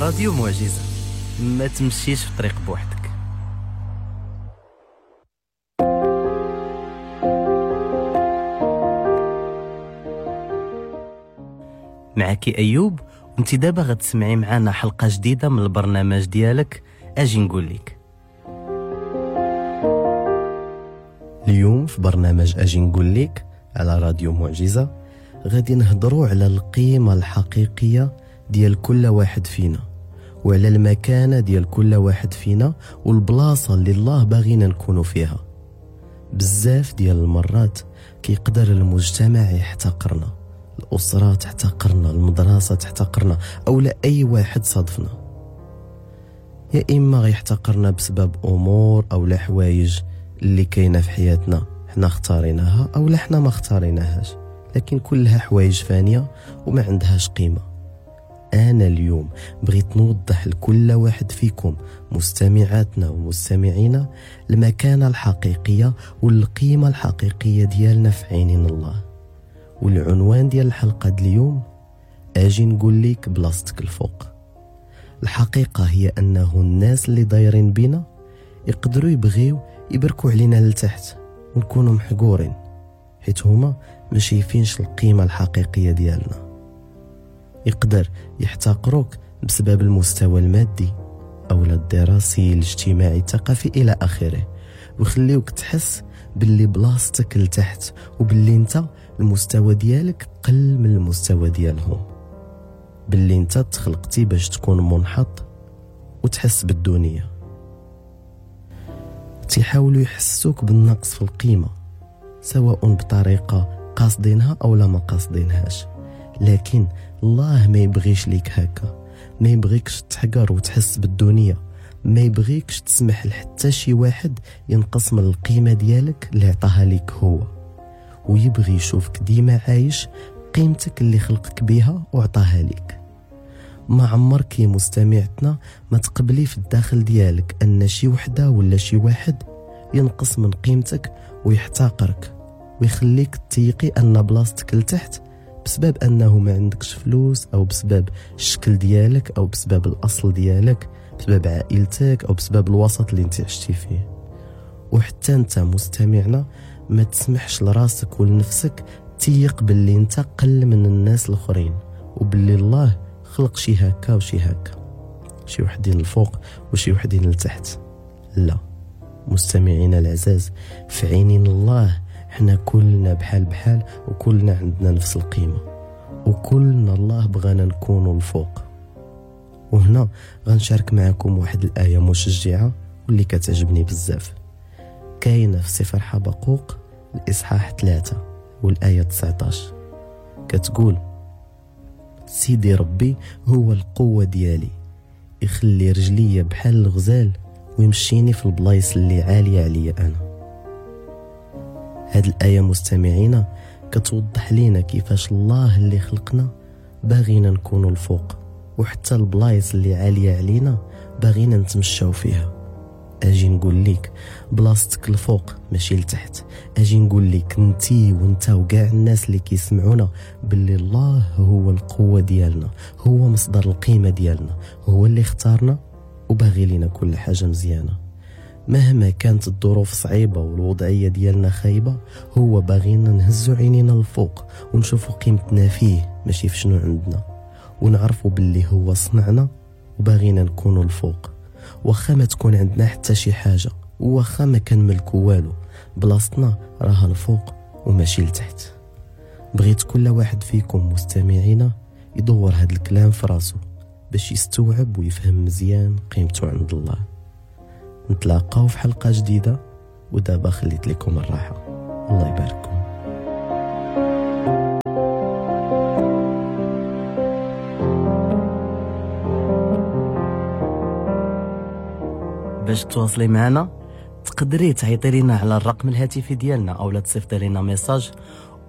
راديو معجزة، ما تمشيش في طريق بوحدك. معك أيوب، وانت دابا غتسمعي معنا حلقة جديدة من البرنامج ديالك أجي نقول لك. اليوم في برنامج أجي نقول لك على راديو معجزة غادي نهضروا على القيمة الحقيقية ديال كل واحد فينا، وعلى المكانة ديال كل واحد فينا، والبلاصة اللي الله باغينا نكونوا فيها. بزاف ديال المرات كيقدر المجتمع يحتقرنا، الأسرة تحتقرنا، المدرسة تحتقرنا، أو لا أي واحد صادفنا. يا إما غيحتقرنا بسبب أمور أو لا حوايج اللي كاينة في حياتنا حنا اختاريناها أو لا حنا ما اختاريناهاش، لكن كلها حوايج فانية وما عندهاش قيمة. أنا اليوم بغيت نوضح لكل واحد فيكم مستمعاتنا ومستمعينا المكانة الحقيقية والقيمة الحقيقية ديالنا في عينين الله. والعنوان ديال الحلقة ديال اليوم أجي نقول لك بلاصتك الفوق. الحقيقة هي أنه الناس اللي دايرين بينا يقدروا يبغيو يبركوا علينا لتحت ونكونوا محقورين، حيت هما ما شايفينش القيمة الحقيقية ديالنا. يقدر يحتقروك بسبب المستوى المادي أو الدراسي الاجتماعي الثقافي إلى آخره، ويخليوك تحس باللي بلاصتك لتحت وباللي انت المستوى ديالك قل من المستوى ديالهم، باللي انت تخلقتي باش تكون منحط وتحس بالدونية. تيحاولوا يحسوك بالنقص في القيمة، سواء بطريقة قاصدينها أو لا ما قاصدينهاش، لكن الله ما يبغيش ليك هكا، ما يبغيكش تحقر وتحس بالدونية، ما يبغيكش تسمح لحتى شي واحد ينقص من القيمة ديالك اللي عطاها ليك هو، ويبغي يشوفك ديما عايش قيمتك اللي خلقك بيها وعطاها ليك. ما عمرك يا مستمعتنا ما تقبلي في الداخل ديالك أن شي وحدة ولا شي واحد ينقص من قيمتك ويحتقرك ويخليك تيقي أن بلاصتك لتحت بسبب أنه ما عندكش فلوس، أو بسبب الشكل ديالك، أو بسبب الأصل ديالك، بسبب عائلتك، أو بسبب الوسط اللي انت عشتي فيه. وحتى انت مستمعنا ما تسمحش لراسك ولنفسك تيق باللي انت قل من الناس الاخرين، وباللي الله خلق شي هكا وشي هكا، شي وحدين الفوق وشي وحدين لتحت. لا مستمعينا العزاز، في عينين الله حنا كلنا بحال بحال، وكلنا عندنا نفس القيمة، وكلنا الله بغانا نكونوا الفوق. وهنا غنشارك معكم واحد الآية مشجعة واللي كتعجبني بزاف، كاينة في سفر حبقوق الإصحاح 3 والآية 19، كتقول: سيدي ربي هو القوة ديالي، يخلي رجلي بحال الغزال ويمشيني في البلايص اللي عالية عليا أنا. هاد الآية مستمعينا كتوضح لينا كيفاش الله اللي خلقنا باغينا نكونوا الفوق، وحتى البلايص اللي عالية علينا باغينا نتمشاو فيها. اجي نقول لك بلاصتك الفوق ماشي لتحت. اجي نقول لك انتي وانت وكاع الناس اللي كيسمعونا باللي الله هو القوة ديالنا، هو مصدر القيمة ديالنا، هو اللي اختارنا وباغي لينا كل حاجة مزيانة. مهما كانت الظروف صعيبة والوضعية ديالنا خايبة، هو باغينا نهزو عينينا الفوق ونشوفو قيمتنا فيه ماشي في شنو عندنا، ونعرفو باللي هو صنعنا وباغينا نكونو الفوق. واخا ما تكون عندنا حتى شي حاجة، واخا ما كنملكو والو، بلاصتنا راها الفوق وماشي لتحت. بغيت كل واحد فيكم مستمعينا يدور هاد الكلام في راسو باش يستوعب ويفهم مزيان قيمته عند الله. نتلاقاو في حلقة جديدة، ودابا خليت لكم الراحة. الله يبارككم. باش تواصلي معنا تقدري تعيطي لنا على الرقم الهاتفي ديالنا او لا تصيفطي لنا message،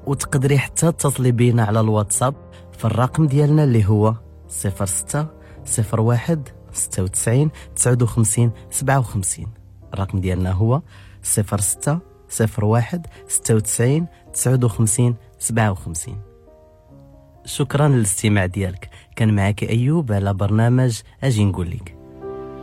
وتقدري حتى تتصلي بينا على الواتساب في الرقم ديالنا اللي هو 06 01 96 59 57. الرقم ديالنا هو 06 01 96 59 57. شكرا للاستماع ديالك. كان معك أيوب على برنامج أجي نقول لك.